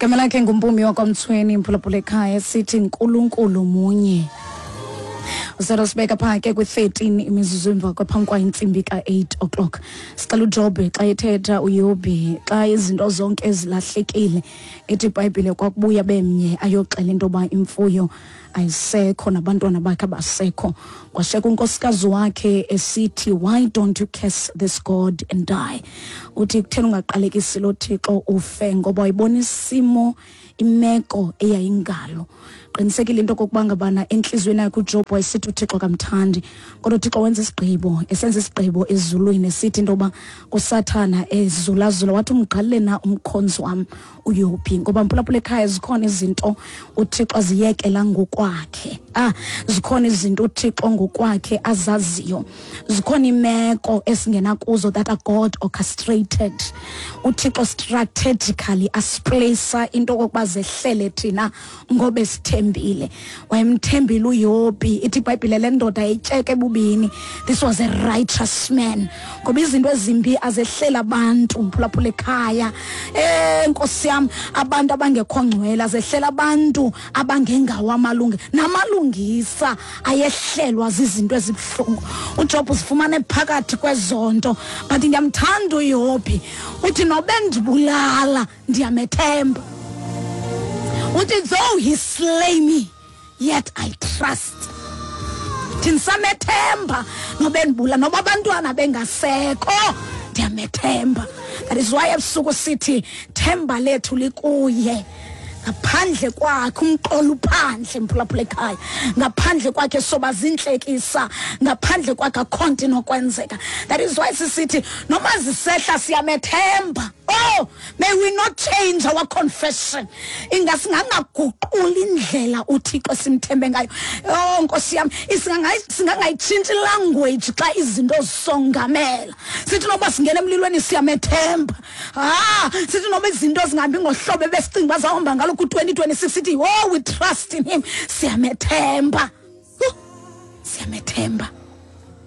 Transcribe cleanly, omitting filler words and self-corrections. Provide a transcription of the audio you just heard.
Igama lakhe nguMpumi wakwaMthweni, mphulaphula ekhaya, sithi Nkulunkulu munye. Uselo sibeka phaa ke kwi-13 imizuzu emva kwaphambi kwa intsimbi ka-8 o'clock. Sicela uJobhe xa ethetha uYobhi xa izinto zonke ezilahlekile, ithi iBhayibhile kwakubuya bemnye ayoxela into yoba imfuyo ayisekho nabantwana bakhe abasekho. Kwasheka unkosikazi wakhe esithi, why don't you curse this God and die? Uthi kutheni ungaqalekisi lo Thixo ufe, ngoba wayibona isimo, imeko eyayingalo. Qinisekile into okokuba ngabana entliziyweni yakhe uJob wayesithi uThixo kamthandi, kodwa uThixo wenza isigqibo, esenza isigqibo ezulwini esithi into yoba kuSathana ezulazula, wathi umgqalile na umkhonzi wam uYobhi? Ngoba mphulaphula ekhaya, zikhona izinto uThixo aziyekela ngokwakhe. Zikhona izinto uThixo ngokwakhe azaziyo, zikhona imeko esingena kuzo that are God orchestrated. UThixo strategically asiplacea into okokuba zehlele thina ngoba esithembile. Wayemthembile uYobhi, ithi iBhayibhile le ndoda yayityeke ebubini. This was a righteous man, ngoba izinto ezimbi azehlela abantu, mphulaphula ekhaya. Nkosi yam, abantu abangekho ngcwele azehlela abantu abangengawo amalunge, namalungisa ayehlelwa zizinto ezibuhlungu. uJob uzifumane phakathi kwezonto, but ndiyamthanda uYobhi, uthi nobe ndibulala ndiyamethemba. Uthi though he slay me, yet I trust. Ndinisamethemba nobe ndibula, noba abantwana bengasekho, ndiyamethemba. That is why ebusuku sithi themba lethu likuye. Ngaphandle kwakhe umqolo uphandle, mphulaphula ekhaya. Ngaphandle kwakhe soba zintlekisa, ngaphandle kwakhe akho nto inokwenzeka. That is why sisithi noma zisehla siyamethemba. Oh, may we not change our confession. Ingasingangaguquli indlela uThixo simthembe ngayo. Oh Nkosi yam, singangayitshintshi language xa izinto zisongamela. Sithi noba singena emlilweni siyamethemba. Sithi noba izinto zingahambi ngohlobo ebesicinga uba zawuhamba ngalo ku-2026, sithi oh, we trust in him, siyamethemba. Huh, siyamethemba.